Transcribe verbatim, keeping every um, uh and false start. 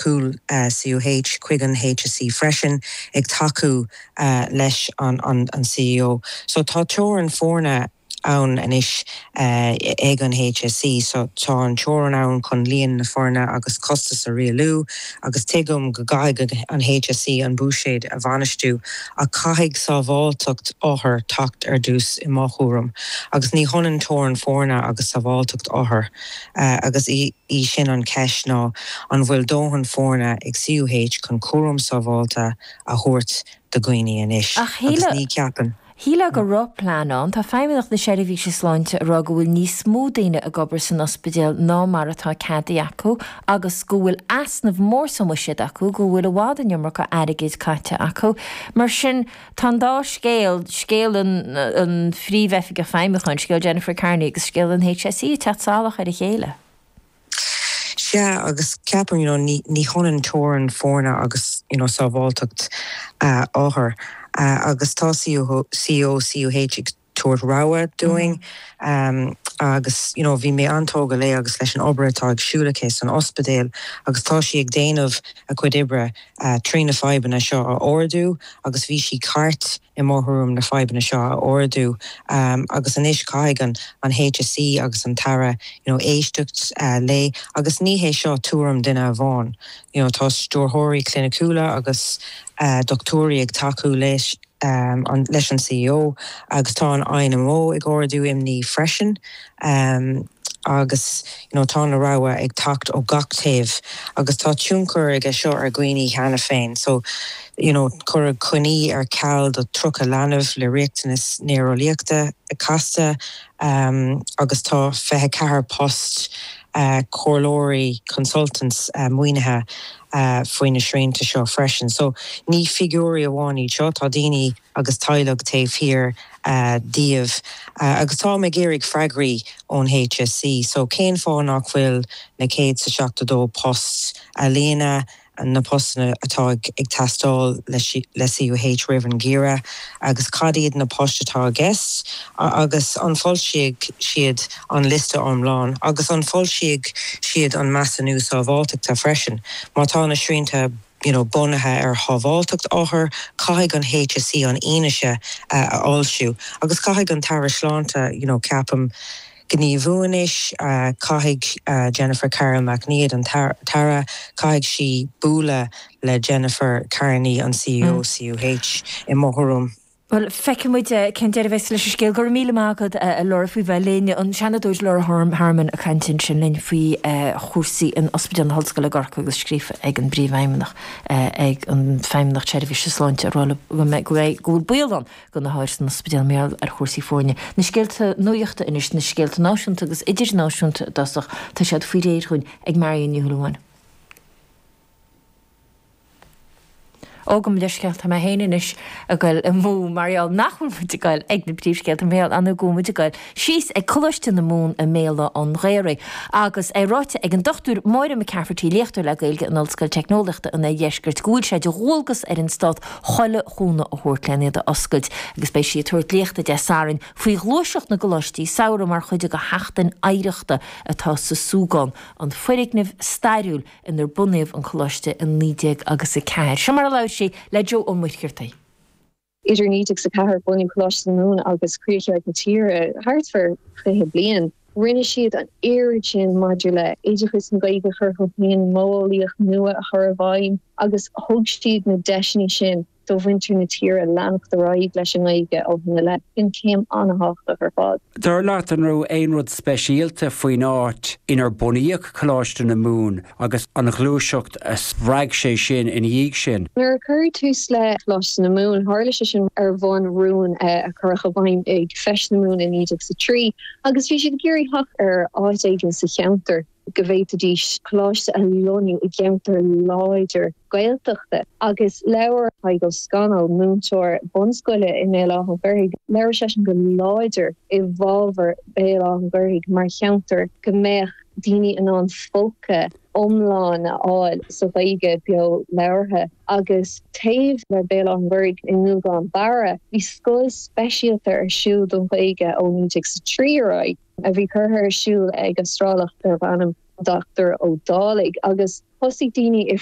cúl C U H chuig an H S E freisin ag tacú uh, leis an, an, an C E O. So tá teorainn foirne ann anois uh, ag an H S E, so tá an teorainn ann chun líon na foirne agus costas a rialú, agus tuigim go gcaithfidh an H S E an buiséad a bhainistiú, ach caithfidh sábháilteacht othar teacht ar dtús i mo thuairim. Agus ní hionann teorainn foirne agus sábháilteacht othar uh, agus í, í sin an cheist, ná an bhfuil dóthain foirne ag C U H chun cúram sábháilte a thabhairt do dhaoine anois agus ní ceapann. Shílfeá go raibh plean ann. Tá Feidhmeannacht na Seirbhíse Sláinte ag rá go bhfuil níos mó daoine ag obair san ospidéal ná mar atá ceadaithe acu agus go bhfuil easnamh mór sa mbuiséad acu, go bhfuil i bhfad an iomarca airgid caite acu. Mar sin tá an dá scéal, scéal an, an phríomhoifigeach feidhmiúcháin, scéal Jennifer Carney agus scéal an H S E, teacht salach ar a chéile. Sea, agus ceapaim you know, ní, ní hionann teorainn foirne agus you know, sábháilteacht uh, othar. Uh, agus tá C E O C U H ag tabhairt rabhadh dúinn mm -hmm. um, agus you know, bhí mé an-tógtha léi agus leis an obair atá ag siúl aici san ospidéal, agus tá sí ag déanamh a cuid oibre uh, trí na fadhbanna seo a ardú, agus bhí sí ceart i mo thuairim na fadhbanna seo a ardú um, agus anois caithfidh an an H S E agus an tAire you know, éisteacht uh, léi, agus ní hé seo tuairim duine amháin. You know, tá stiúrthóirí cliniciúla agus uh, dochtúirí ag tacú leis um, an, leis an C E O, agus tá an I N M O ag ardú imní freisin. Um, agus you know, tá na rabhaidh ag teacht ó gach taobh agus tá tionchar aige seo ar dhaoine cheana féin. So you know, cuireadh coinní ar ceal do tríocha leanbh le riachtanas néareolaíochta casta um, agus tá fiche ceathair post uh, comhairleoirí, consultants uh, maoinithe uh, faoi na srianta seo freisin. So ní figiúirí amháin seo, tá daoine agus teaghlaigh taobh thiar uh, díobh. Uh, agus tá ag iarraidh freagraí ón H S E, so cén fáth nach bhfuil na céad sa seachtó dó post a líonadh, na postanna atá ag teastáil le C U H roimh an ngeimhreadh, agus cad iad na poist atá i gceist, agus an bhfoilseoidh siad an liosta iomlán, agus an bhfoilseoidh siad an measúnú sábháilteachta freisin. Má tá na srianta you know, bunaithe ar shábháilteacht othar, caithfidh an H S E an fhianaise uh, a fhoilsiú, agus caithfidh an tAire Sláinte you know, ceapaim, gníomhú anois. uh, caithfidh uh, Jennifer Carroll MacNeill, an tAire, caithfidh sí bualadh le Jennifer Carney, an C E O mm. C U H, i mo thuairim. Well, feicfimid cén deireadh leis an scéal. Go míle maith agat, a Laura, faoi bheith linn. An Seanadóir Laura Harmon ag caint sin linn faoi chúrsaí in Ospidéal na hOllscoile Corcaigh, agus scríofa ag an bPríomhfheidhmeannach, ag an Feidhmeannacht Seirbhíse Sláinte, go bhfuil baol ann do na hothair san ospidéal mar gheall ar chúrsaí foirne. Na scéalta nuachta anois, na scéalta náisiúnta agus idirnáisiúnta i dtosach, tá siad faoi réir dúinn ag Marion Ní Shúilleabháin. Ó gabh mo leithscéal, tá mé féin anois ag goil amú mar gheall nach bhfuil muid ag goil ag na príomhscéalta, mar gheall an go muid ag goil síos ag Coláiste na Mumhan i mBéal an Ghaorthaidh. Agus é ráite ag an Dochtúir Máire McCafferty, léachtóir le Gaeilge in Ollscoil Teicneolaíochta an Oirdheiscirt, go bhfuil sé de dhualgas ar an stát chuile chúnamh a thabhairt lena iad a oscailt, agus beidh sí ag tabhairt léachta Dé Sathairn faoi ghluaiseacht na gcoláistí samhraidh mar chuid de sheachtain oidhreachta atá sa Súgán, an foirgneamh stairiúil inar bunaíodh an coláiste in naoi déag agus a ceathair. Seo mar a labhair sí le Joe Ó Muircheartaigh. Idir naoi déag a ceathair, bunú Coláiste na Mumhan, agus críochadh na tíre, thart fá fiche bliain. Rinne siad an oiread sin maidir le oideachas na Gaeilge a chur chun cinn, modheolaíocht nua a chur i bhfeidhm, agus thug siad na deiseanna sin do mhuintir na tíre leanacht ar aghaidh leis an nGaeilge ó shin i leith. Sin céim an-thábhachtach ar fad. Dar leat, an raibh aon rud speisialta faoin áit inar bunaíodh Coláiste na Mumhan agus an ghluaiseacht a spreag sé sin ina dhiaidh sin? Nuair a cuireadh tús le Coláiste na Mumhan, tharla sé sin ar bhonn rún a cuireadh i bhfeidhm ag Feis na Mumhan i naoi déag sa trí, agus bhí siad ag iarraidh theacht ar áit éigin sa cheantar go bhféadfaidís coláiste a lonnú i gceantar láidir Gaeltachta. Agus labhair Tadhg Ó Scanaill, múinteoir bunscoile i mBéal Átha an Ghaorthaidh, labhair seisean go láidir i bhfabhar Béal Átha an Ghaorthaidh mar cheantar go mbeadh daoine in ann folcadh iomlán a fháil sa Ghaeilge beo labhartha. Agus taobh le Béal Átha an Ghaorthaidh, i nGúgán Barra, bhí scoil speisialta ar siúl don Ghaeilge ó naoi déag sa trí ar aghaidh, a bhí curtha ar siúl ag Astrálach darb ainm Dochtúir Ó Dálaigh, agus Thosaigh daoine ag